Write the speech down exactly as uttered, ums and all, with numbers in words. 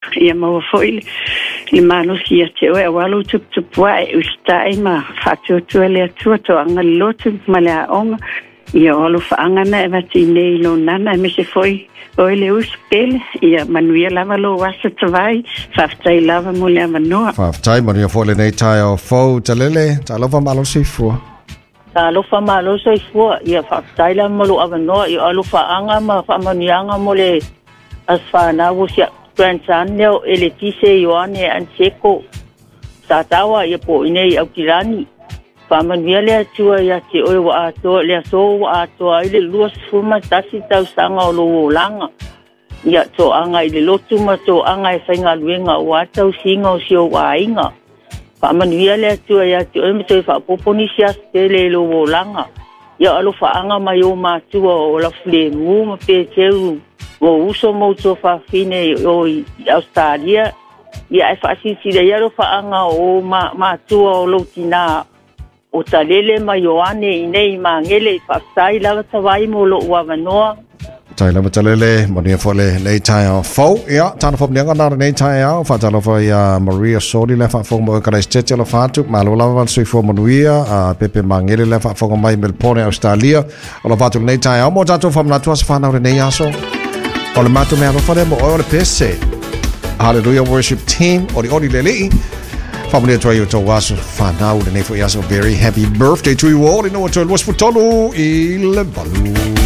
Ia maua foi le, le malosi ia te oe auā lou tuputupuaʻe usitaʻi ma faatuatua le Atua toaga le lotu ma le aoga. Ia o alofaaga na e vatinei i lou nana aemaise foi oe le uso pele. Ia manuia lava lou aso Tavai. Faafetai lava mo le avanoa. Faafetai, manuia foi lenei taeao fou Talele. Talofa, malo soifua. Talofa, malo soifua. Ia faafetai lava mo lou avanoa. Ia alofaaga ma faamanuiaga mo le aso fanau o si grandson lea o Eletise Ioane Anseko Satawa ia po i nei Aukilani. Faamanuia le Atua ia te oe ua atoa le aso ua atoa ai le lua sefulu ma tasi tausaga o lou olaga. Ia toaga i le lotu ma toaga e faigaluega ua tausiga o si ou aiga. Faamanuia le Atua ia te oe ma toe faaopoopo nisi aso tele i lou olaga. Ia alofaaga mai o matua o Lafulemu ma Peteu o uso ma uso fafine o i Australia. Ia e faasilasila ia alofaaga o ma, matua o lou tinā o Talele ma Ioane i nei Magele. Faafetai lava Tavai mo lou avanoa. Tai lava Talele, manuia foi lenei taeao fou. Ia, tana fomnianga na lenei taeao, faatalofa ia Maria Soli le faafofoga mai Karaistete alofa atu, malo lava le soifua manuia, a Pepe Magele le faafofoga mai Melbourne, Australia. Alofa atu lenei taeao mo tatou faamanatu aso fanau lenei aso. O le matou meaalofa lea mo oe o le pese. Hallelujah Worship Team, ori ori le alii. Faamanuia atu ai o tou aso fanau lenei foi aso. Very happy birthday to you all. Ina ua toe luasefulu tolu i le valu.